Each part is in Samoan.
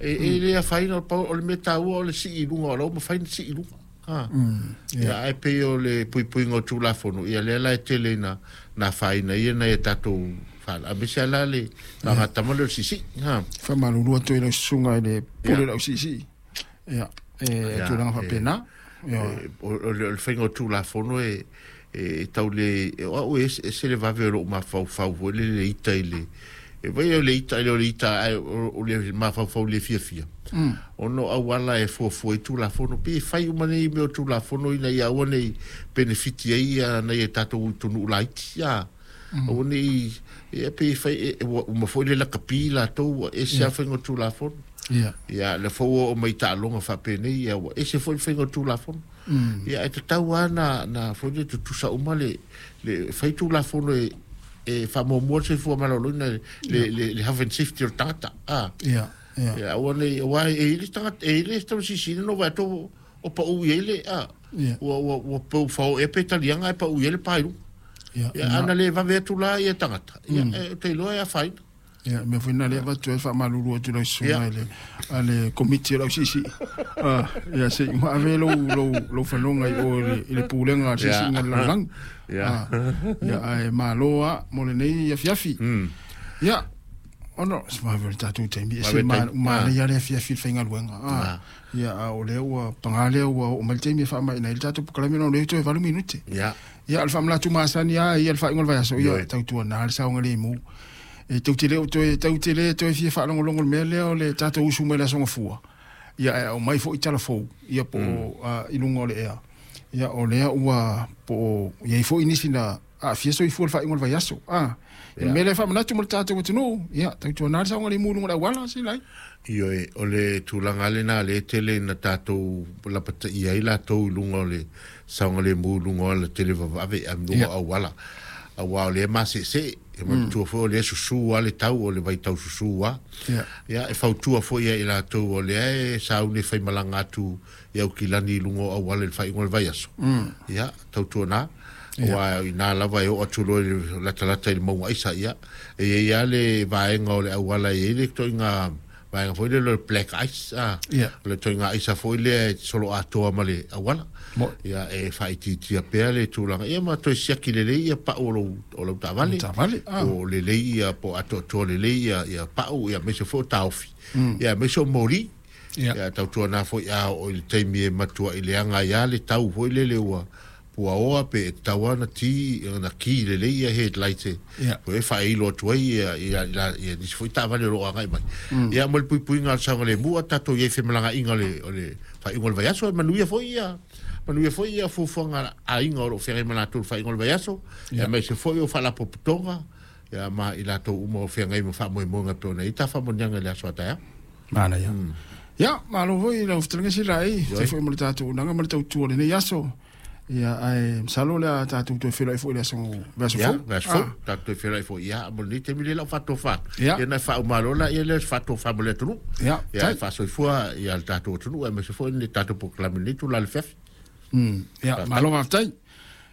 E le afaina, o le mea taua o le sii i luga, o la ua mafai ona sii i luga. Ia, ae pei o le puipuiga o Tulafono, ia lea la e tele ina na afaina ai nai a tatou aemaise lava la le faagatama lea o le siisii. Faamalulu atu ai lau susuga i le pule o le ausiisii. Ia, e tulaga faapena. O le faiga o Tulafono e tau le, o au e ese le vave o lou mafaufau foi le le ita i le, e vai o le ita le o le ita, ae o le mafaufau le fiafia. Ona o auala e fuafua i Tulafono, pe fai uma nei mea o Tulafono ina ia aua nei penefiti ai ia nai a tatou atunuu laiti. Aua nei, ia pe fai, ua uma foi le lakapi latou, ua ese lava faiga o Tulafono. Ia, le foi ua oo mai taaloga faapenei, ia ua ese foi le faiga o Tulafono. Ia, e tatau lava na foi le tutusa uma le fai Tulafono e faamuamua le soifua maloloina, le health and safety o le tagata. Ia, aua nei, aua e i ai le tagata, e i ai le tamasisina no vaai atu o pau i ai le, ua pau fao ea pe taliaga e pau i ai le pa i luga. Ia, ana le vave atu la ia tagata, ia, e te iloa e afaina. Ia, mea foi na lea avatu ai faamalulu atu lau susuga i le a le komiti o le ausiisii. Ia, se i ave lou fanoga i o i le pulega a le siisiiga o le lalolagi. Ia, ae malo lava mo lenei afiafi. Ia, ona se vave o le tatou taimi, e se manaia le afiafi i le faigaluega. Ia, a o lea ua paga lea ua oo mai le taimi e faamaina ai le tatou polokalame, ona o lea toe 8 minute. Ia, o le faamanatu masani lava ia le faaiuga o le vaiaso, ia, tautuana le saogalemu. E tou te le o toe, tou te le toe fia faalogologo i le mea lea o le tatou usu mai le Aso Gafua, ia ae aumai foi tala fou, ia po o i luga o le ea. Ia o lea ua po o i ai foi nisi na aafia soifua i le faaiuga o le vaiaso. O le mea lea e faamanatu mo le tatou atunuu, ia tautuana le saogalemu i luga o le auala, Silai. Ioe, o le tulaga lena lea e tele ina tatou lapataia ai latou i luga o le saogalemu i luga o alatele vavave a luga o auala. Aua o lea e maseesee, e manatua foi o lea e susu lava le tau, o le vaitau susu lava. Ia, e fautua foi ia i latou o lea e sauni e faimalaga atu i Aukilani i luga o auala i le faaiuga o le vaiaso. Ia, tautuana, aua i ina lava e oo atu loa i le latalata i le mauga aisa, ia, e i ai lava le vaega o le auala e i ai le ituaiga vaega foi lea o le black ice, o le ituaiga aisa foi lea e solo atoa ma le auala. Ia, e faaitiitia pea le tulaga, ia ma toe siaki lelei ia pau o lau taavale. Taavale. Po o lelei ia, po o atoatoa lelei ia pau, ia aemaise foi o taofi. Ia aemaise o moli. Ia tautuana foi a oo i le taimi e matuai leaga ai lava le tau foi lele ua puaoa pe e tatau lava ona ti ona ki lelei ia headlight e foi e faailo atu ai ia nisi foi taavale o lo o agai mai. Ia mo le puipuiga o le saogalemu a tatou i ai i femalagaaiga o le faaiuga o le vaiaso, e manuia foi ia fuafuaga a aiga o lo o feagai ma latou i le faaiuga o le vaiaso, aemaise foi o faalapotopotoga ia ma i latou uma o feagai ma faamoemoega e pei ona i ai ta faamanuiaga i le aso a taeao. Manaia. Ia, malo foi lau fetalaiga Silai, tai foi mo le tatou unaga ma le tautua o lenei aso. Ia, ae masalo o le a tatou toe feiloai foi i le aso vaiaso fou. Vaiaso fou, tatou toe feiloai foi. Ia, mo lenei taimi lea lau faatofa. Ia, na faaumalo la ia lea faatofa mo le atunuu. Ia, e faasoifua ia le tatou atunuu, aemaise foi le tatou polokalame lenei itula i le afiafi. Ia, malo faafetai.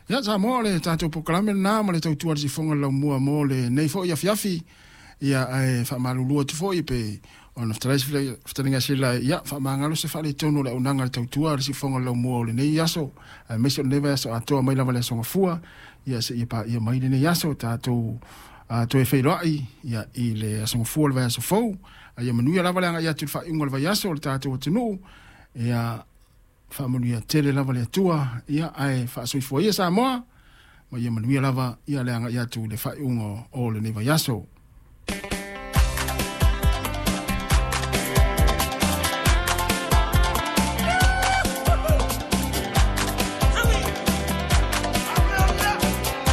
Ia, Samoa, o le tatou polokalame lena ma le tautua le sifoga le laumua mo lenei foi afiafi. Ia, ae faamalulu atu foi pe ona fetalai se fetalaiga Silai, ia, faamagalo se faaletonu o le auaunaga le tautua le sifoga le laumua o lenei aso, aemaise o lenei vaiaso atoa mai lava le aso Gafua, ia seia paia mai lenei aso, tatou toe feiloai, ia, i le aso Gafua o le vaiaso fou. Ia manuia lava le agai atu i le faaiuga o le vaiaso o le tatou atunuu. Ia, faamanuia tele lava le Atua, ia, ae faasoifua ia Samoa, ma ia manuia lava ia le agai atu i le faaiuga o lenei vaiaso.